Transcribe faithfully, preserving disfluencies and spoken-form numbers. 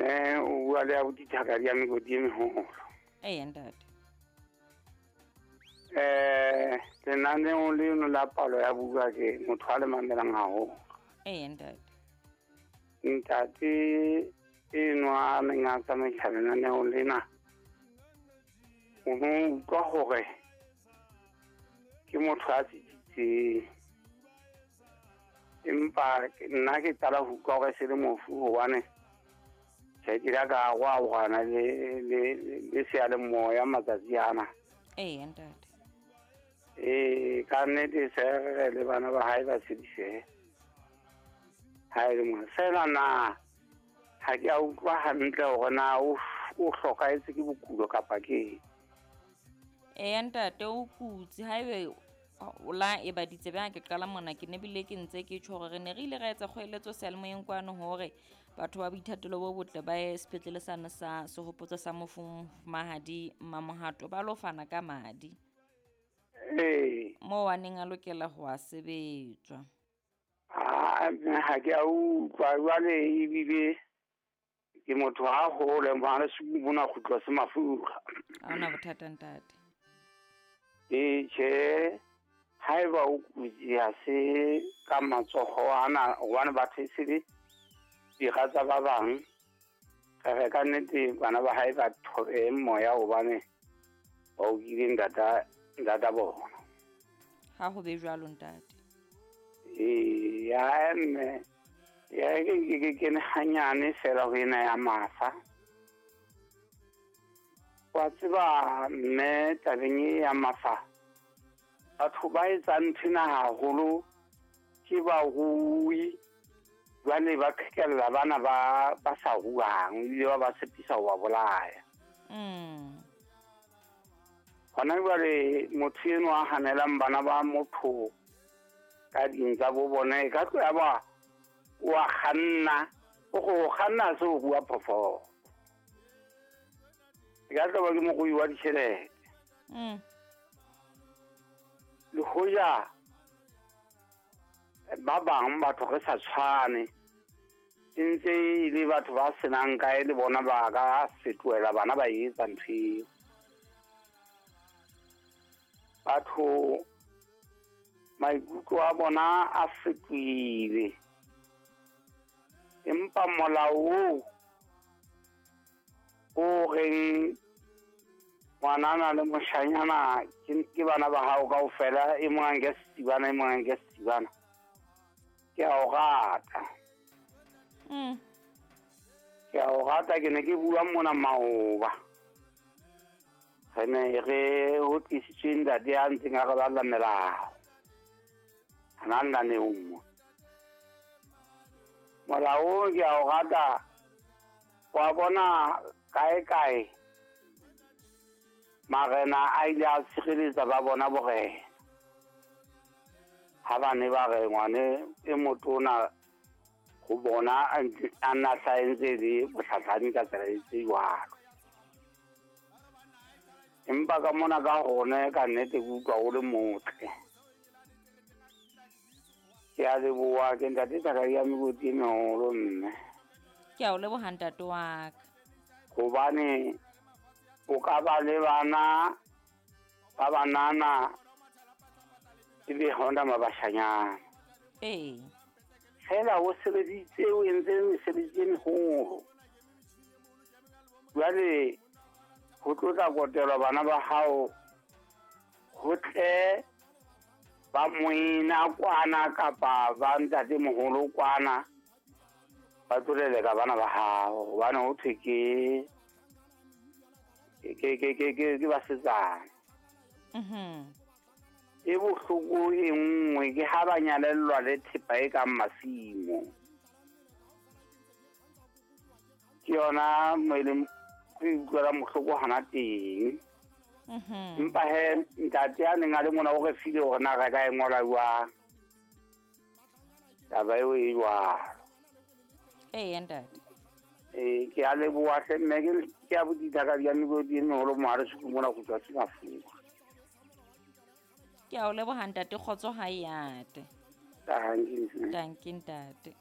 Mme o bua le abuti Thakadi ya mekoti e meholo. Ee ntate. Eh, lenaneo leno la palo ya buka ke motho a le mamelang haholo. Ee ntate. Ntate enwa a neng a tsamaisa lenaneo lena, o no utlwa hore ke motho a tsitsitseng. Empa nna ke qala ho utlwa hore se le mofu hobane tjhe ke la ka arohana le le le seyalemoya matsatsi ana. Ee ntate. Ee, ka nnete se re le bana ba hae ba tshedisehe. Ha e le mona fela na ha ke a utlwa hantle hore na o o hlokahetse ke bokulo kapa ke eng. Ee ntate, o kutse. Haebe o la e ba ditsebe ha ke qala mona, ke ne bile ke ntse ke tjho hore re ne re ile ra etsa kgoeletso seyalemoyeng kwano hore batho ba boithatelo bo botle ba ye sepetlele sane sa sehopotso sa mofu Mofumahadi Mmamohato ba lo fana ka madi. Ee. Moo a neng a lokela ho a sebetswa. Ah, ha ke a utlwa jwale ebile ke motho ha hole mane mona kgutla se mafura. Ha hona bothata ntate. Ee tjhe, haeba o kutse ha se ka matsoho ana hobane batho e se le dira tsa ba bang. Re re ka nnete bana ba hae ba thobe moya hobane ba okile ntata ntata bona. Ha ho be jwalo ntate. Ee, ya mme ya ke ke ke kene hanyane fela ho ena ya mafa. Wa tseba mme tabeng e ya mafa, batho ba etsang nthwena haholo ke barui. Jwale ba qhekella bana ba ba sa ruang ebile ba ba tshepisa ho ba bolaya. Mm. Hona jwale motho enwa a hanelang bana ba motho ka ding tsa bo bona e ka tlo ya ba o a kganna, o go kganna se o rua phoofolo. E ka tlo ba ke morui wa ditjhelete. Mm. Le hoja ba bang batho re sa tshwane, e ntse e le batho ba senang kae le bona ba ka fetohela bana ba etsa ntho eo. Batho maikutlo a bona a fetohile, empa molao oo o reng ngwanana le moshanyana ke bana ba hao kaofela, e mong a nke setibana, e mong a nke setibana, ke a o rata. Mm. Ke a o rata. Ke ne ke bua mona maoba, re ne re ho tlisitswe ntate a ntseng a re balla melao hana lenaneong mo. Molao ke a o rata. Wa bona kae kae marena a ile a tshireletsa ba bona borena ha ba ne ba re ngwane e motona ho bona a nna hlaentse le bohlahlami ka tsela e tse jwalo. Empa ka mona ka hone ka nnete ke utlwa o le motle. Ke a leboha, ke ntate Thakadi ya mekoti e meholo mme. Ke a o leboha ntate wa ka. Hobane o ka ba le bana ba banana ebe ha hona mabashanyana. Ee. Fela o sebeditse, o entse mesebetsi e meholo. Jwale ho tlo tla kotelwa bana ba hao, ho tle ba moena kwana kapa ba ntate moholo kwana ba tlo leleka bana ba hao hobane ho thwe ke ke ke ke ke ke basetsana. Mhm. E bohloko e nngwe ke ha ba nyalellwa le thepa e kang masimo. Ke yona mo e leng ke utlwela mohloko hana teng. Mhm. Empa he ntate a neng a le mona o re file hore na re ka e ngola jwang. Taba eo e jwalo. Ee ntate. Ee, ke a leboha hle mme, ke ke abuti Thakadi ya mekoti e meholo mohare Sukung mona ho tswa se mafura. Ke a o leboha ntate, kgotso ha e ate. Tanki. Tanki ntate.